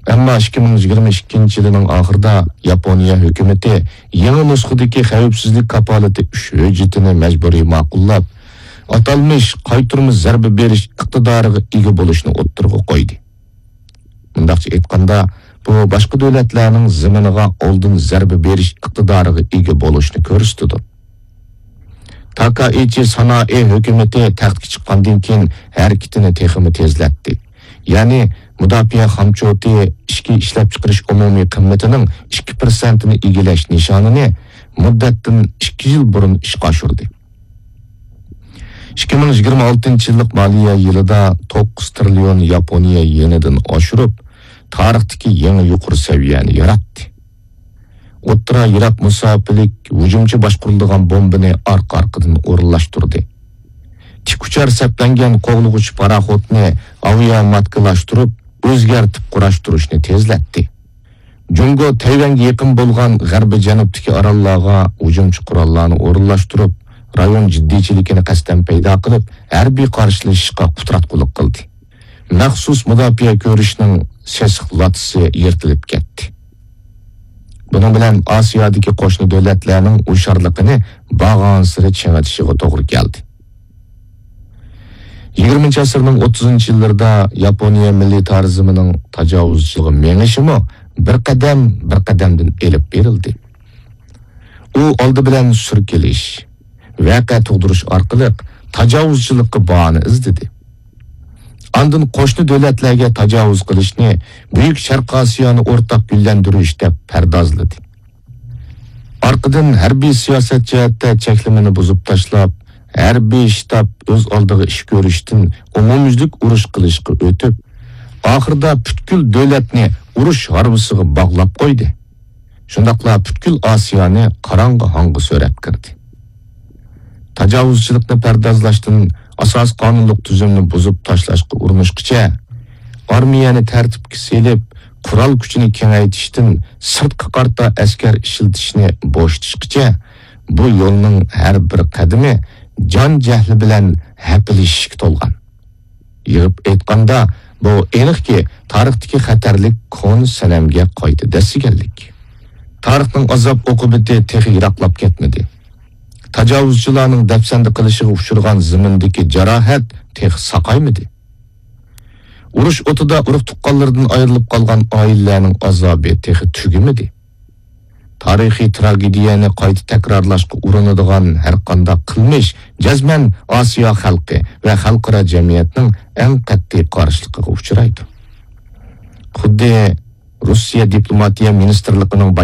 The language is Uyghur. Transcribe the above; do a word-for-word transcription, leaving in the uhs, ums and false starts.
ئەمما ئىككى مىڭ يىگىرمە ئىككىنچى يىلىنىڭ ئاخىرىدا ياپونىيە ھۆكۈمىتى يېڭى نۇسخىدىكى خەۋپسىزلىك كاپالىتى ئۈچ ھۆججىتىنى مەجبۇرىي ماقۇللاپ، ئاتالمىش قايتۇرما زەربە بېرىش ئىقتىدارىغا ئىگە بولۇشنى ئوتتۇرىغا قويدى. مۇنداقچە ئېيتقاندا، بۇ باشقا دۆلەتلەرنىڭ زېمىنىغا ئالدىن زەربە بېرىش ئىقتىدارىغا ئىگە بولۇشنى كۆرسىتىدۇ. تاكائىچى سانائى ھۆكۈمىتى تەختكە چىققاندىن كېيىن ھەرىكىتىنى تېخىمۇ تېزلەتتى. يەنى مۇداپىئە خامچوتى ئىچكى ئىشلەپچىقىرىش ئومۇمىي قىممىتىنىڭ ئىككى پىرسەنتىنى ئىگىلەش نىشانىنى مۇددەتتىن ئىككى يىل بۇرۇن ئىشقا ئاشۇردى. ئىككى مىڭ يىگىرمە ئالتىنچى يىللىق مالىيە يىلىدا توققۇز تىرىليون ياپونىيە يېنىدىن ئاشۇرۇپ، تارىختىكى يېڭى يۇقىرى سەۋىيەنى ياراتتى. ئوتتۇرا يىراق مۇساپىلىك ھۇجۇمچى باشقۇرۇلىدىغان بومبىنى ئارقا-ئارقىدىن ئورۇنلاشتۇردى. تىك ئۇچار سەپلەنگەن قوغلىغۇچ پاراخوتنى ئاۋىئاماتكىلاشتۇرۇپ، ئۆزگەرتىپ قۇراشتۇرۇشنى تېزلەتتى. جۇڭگو تەيۋەنگە يېقىن بولغان غەربىي جەنۇبتىكى ئاراللارغا ھۇجۇمچى قوراللارنى ئورۇنلاشتۇرۇپ، رايون جىددىيچىلىكىنى قەستەن پەيدا قىلىپ، ھەربىي قارشىلىشىشقا قۇتراتقۇلۇق قىلدى. مەخسۇس مۇداپىئە كۆرۈشنىڭ سېسىق لاتىسى يىرتىلىپ كەتتى. بۇنىڭ بىلەن ئاسىيادىكى قوشنا دۆلەتلەرنىڭ ھوشيارلىقىنى بارغانسېرى چىڭىتىشىغا توغرا كەلدى. يىگىرمىنچى ئەسىرنىڭ ئوتتۇزىنچى يىللىرىدا ياپونىيە مىللىتارىزمىنىڭ تاجاۋۇزچىلىقىغا مېڭىشىمۇ بىر قەدەم، بىر قەدەمدىن ئېلىپ بېرىلدى. ئۇ ئالدى بىلەن سۈركىلىش، ۋەقە تۇغدۇرۇش ئارقىلىق تاجاۋۇزچىلىققا باھانە ئىزدىدى. ئاندىن قوشنا دۆلەتلەرگە تاجاۋۇز قىلىشنى بۈيۈك شەرقىي ئاسىيانى ئورتاق گۈللەندۈرۈش دەپ پەردازلىدى. ئارقىدىن ھەربىي سىياسەت جەھەتتە چەكلىمىنى بۇزۇپ تاشلاپ، ھەربىي شتاب ئۆز ئالدىغا ئىش كۆرۈشتىن ئومۇميۈزلۈك ئۇرۇش قىلىشقا ئۆتۈپ، ئاخىرىدا پۈتكۈل دۆلەتنى ئۇرۇش ھارۋىسىغا باغلاپ قويدى. شۇنداقلا پۈتكۈل ئاسىيانى قاراڭغۇ ھاڭغا سۆرەپ كىردى. تاجاۋۇزچىلىقنى پەردازلاشتىن، ئاساسىي قانۇنلۇق تۈزۈمنى بۇزۇپ تاشلاشقا ئۇرۇنۇشقىچە، ئارمىيەنى تەرتىپكە سېلىپ، قورال كۈچىنى كېڭەيتىشتىن، سىرتقا قارىتا ئەسكەر ئىشلىتىشنى بوشىتىشقىچە، بۇ يولنىڭ ھەر بىر قەدىمى جان جەھلى بىلەن ھەپىلىشىشكە تولغان. يىغىپ ئېيتقاندا، بۇ ئېنىقكى، تارىختىكى خەتەرلىك كونا سەنەمگە قايتا دەسسىگەنلىك. تارىخنىڭ ئازاب ئوقۇبىتى تېخى يىراقلاپ كەتمىدى. تاجاۋۇزچىلارنىڭ دەپسەندە قىلىشىغا ئۇچرىغان زېمىندىكى جاراھەت تېخى ساقايمىدى. ئۇرۇش ئوتىدا ئۇرۇق-تۇغقانلىرىدىن ئايرىلىپ قالغان ئائىلىلەرنىڭ ئازابى تېخى تۈگىمىدى. تارىخىي تراگېدىيەنى قايتا تەكرارلاشقا ئۇرۇنىدىغان ھەرقانداق قىلمىش جەزمەن ئاسىيا خەلقى ۋە خەلقئارا جەمئىيەتنىڭ ئەڭ قەتئىي قارشىلىقىغا ئۇچرايدۇ. خۇددى روسىيە دىپلوماتىيە مىنىستىرلىقىنىڭ بايان